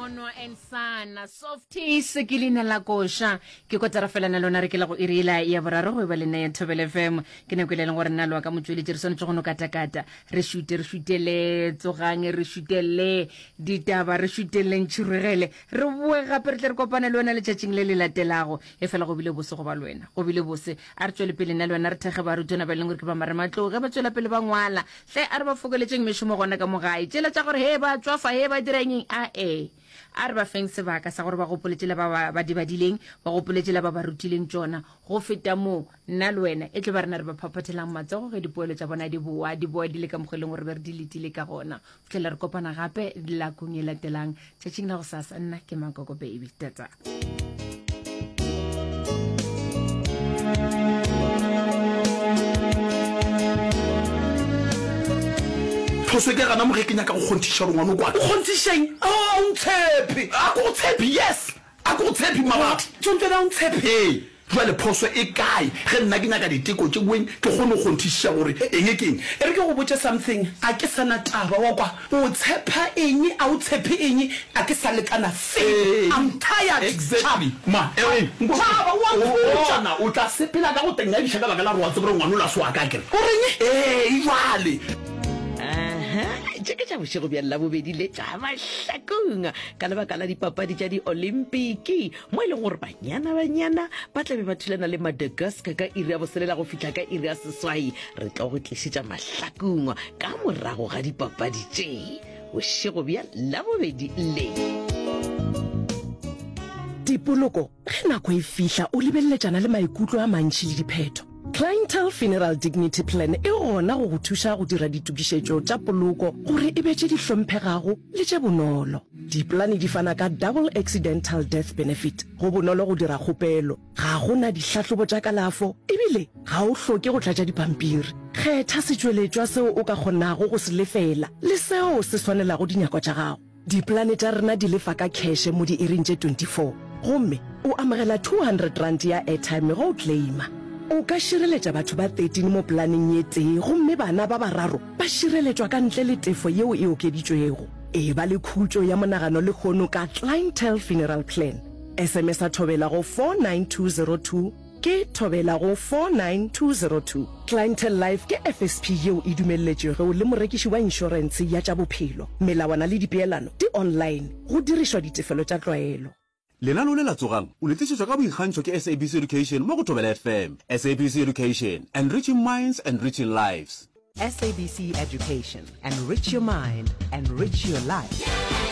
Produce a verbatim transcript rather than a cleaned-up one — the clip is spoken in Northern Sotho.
Monwa and Son, Softies ke leina la koša. Ke kotara fela na lona re ke la go iri yela ya boraro go eba le nna ya Thobela F M. Ke nako e le leng gore nna loa ka motšweletši re swanetše go no katakata. Re šute, re šutele tsogang, re šutele ditaba, re šuteleng tšhirogele. Re boe gape re tle re kopane le wena letšatšing le le latelago. E fela go bile bose go ba le wena. Go bile bose. A re tšwele pele nna le wena re thekge barutwana ba e leng gore ke ba marematlou ge ba tšwela pele ba ngwala. Hle a re ba fokoletšeng mešomo gona ka mo gae. Tšela tša gore he ba tšwafa, he ba dira eng, a e. A re ba feng sebaka sa gore ba gopole tšela ba ba di badileng, ba gopole tšela ba ba rutileng tšona. Go feta moo, nna le wena e tlo ba rena re ba phaphathelang matsogo ge dipoelo tša bona di boa, di boa di le ka mokgwa e leng gore be re di letile ka gona. Fihlela re kopana gape lakong e latelang tšatšing la gosasa, nna ke Mankoko Baby. Tata. Phoso e ke gana mo ge ke nyaka go kgonthiša gore ngwana o kwaka. O kgonthišeng? A o ntshepe? A ke go tshepe, yes. A ke go tshepe, mmabatho. Tšontšone a o ntshepe? Ee. Bjale phoso e kae ge nna ke nyaka diteko tše boeng ke kgone go kgonthišiša gore eng ke eng? E re ke go botše something, a ke sa na taba, wa kwa? O tshepa eng, a o tshepe eng, a ke sa lekana selo. I'm tired. Exactly. Ma, e, nko, Tšhaba, o a mpotša. Bona, o tla sepela ka go tengadiša ka baka la gore wa tseba gore ngwana o la se wa ka, akere? O reng? Ee, jwale. Aha, tše ke tša bošego bja Labobedi le tša Mahlakong ka lebaka la dipapadi tša Diolimpiki mo e lego gore Banyana Banyana ba tla be ba thulana le Madagascar ka iri ya boselela go fihla ka iri ya seswai. Re tlo go tlišetša Mahlakong ka morago ga dipapadi tše bošego bja Labobedi le. Dipoloko, ge nako e fihla o lebeleletšana le maikutlo a mantši le diphetho. Clientele Funeral Dignity Plan e gona go go thuša go dira ditokišetšo tša poloko gore e be tše di hlomphegago le tše bonolo. Dipolane di fana ka Double Accidental Death Benefit, go bonolo go dira kgopelo, ga go na dihlahlobo tša kalafo ebile ga o hloke go tlatša dipampiri. Kgetha setšweletšwa seo o ka kgonago go se lefela le seo se swanelago dinyakwa tša gago. Dipolane tša rena di lefa ka kheše mo diiring tše twenty four gomme o amogela two hundred rand ya airtime ge o claima. O ka šireletša batho ba thirteen mo polaneng ye tee gomme bana ba bararo ba šireletšwa ka ntle le tefo yeo e okeditšwego. E ba le khutšo ya monagano lehono ka Clientele Funeral Plan. S M S a Thobela go four nine two zero two, ke Thobela go four nine two zero two. Clientele Life ke F S P yeo e dumelletšwego le morekiši wa inšorentshe ya tša bophelo. Melawana le dipeelano di online, go dirišwa ditefelo tša tlwaelo. Lenaneo le la Tsogang o le tlišetšwa ka boikgantšho ke S A B C Education mo go Thobela F M. S A B C Education, enriching minds, enriching lives. S A B C Education, enrich your mind, enrich your life.